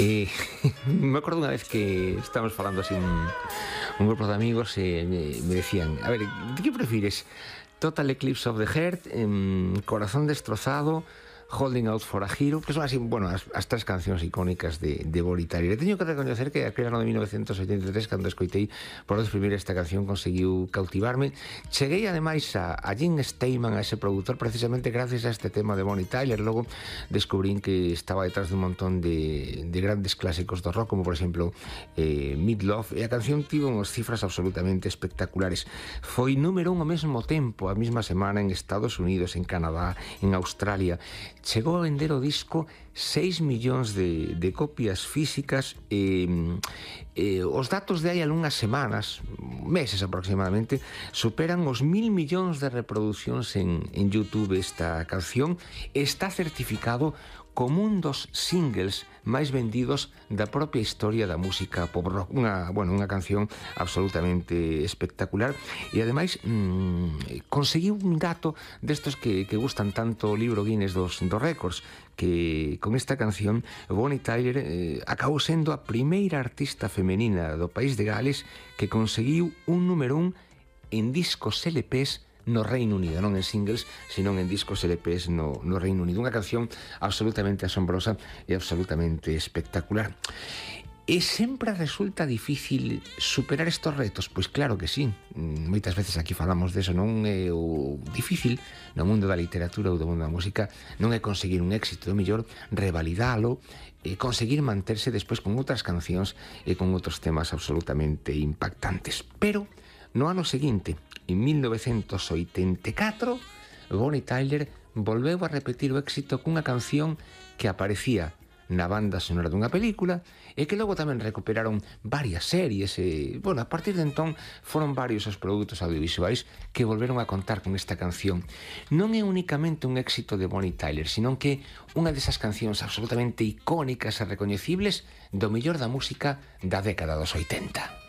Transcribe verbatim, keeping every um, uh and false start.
E me acordo unha vez que estábamos falando así un, un grupo de amigos e me, me decían, a ver, ¿de que prefires? Total Eclipse of the Heart, em, Corazón destrozado, Holding Out for a Hero, que son así, bueno, as, as tres cancións icónicas de, de Bonnie Tyler. E teño que recoñecer que aquel ano de mil novecientos oitenta e tres, cando escoitei por vez primeira esta canción, conseguiu cautivarme. Cheguei ademais a, a Jim Steinman, a ese produtor, precisamente gracias a este tema de Bonnie Tyler. Logo descubrín que estaba detrás de un montón de, de grandes clásicos do rock, como por exemplo eh, Meat Love, e a canción tivo unhas cifras absolutamente espectaculares. Foi número un ao mesmo tempo, a mesma semana, en Estados Unidos, en Canadá, en Australia. Chegou a vender o disco seis millóns de, de copias físicas e, e os datos de hai algunhas semanas, meses aproximadamente, superan os mil millóns de reproduccións en, en YouTube. Esta canción está certificado como un dos singles máis vendidos da propia historia da música pop rock. Unha, bueno, unha canción absolutamente espectacular e ademais mmm, conseguiu un dato destos que, que gustan tanto o libro Guinness dos, dos récords, que con esta canción Bonnie Tyler eh, acabou sendo a primeira artista femenina do país de Gales que conseguiu un número un en discos L Ps no Reino Unido, non en singles, senón en discos L Ps no, no Reino Unido. Unha canción absolutamente asombrosa e absolutamente espectacular. E sempre resulta difícil superar estes retos? Pois claro que sí. Moitas veces aquí falamos deso, non é o difícil no mundo da literatura ou do mundo da música, non é conseguir un éxito, é mellor revalidalo e conseguir manterse despois con outras cancións e con outros temas absolutamente impactantes. Pero no ano seguinte, en mil novecentos oitenta e catro, Bonnie Tyler volveu a repetir o éxito cunha canción que aparecía na banda sonora dunha película e que logo tamén recuperaron varias series e, bueno, a partir de entón foron varios os produtos audiovisuais que volveron a contar con esta canción. Non é únicamente un éxito de Bonnie Tyler, senón que unha desas cancións absolutamente icónicas e recoñecibles do mellor da música da década dos oitenta.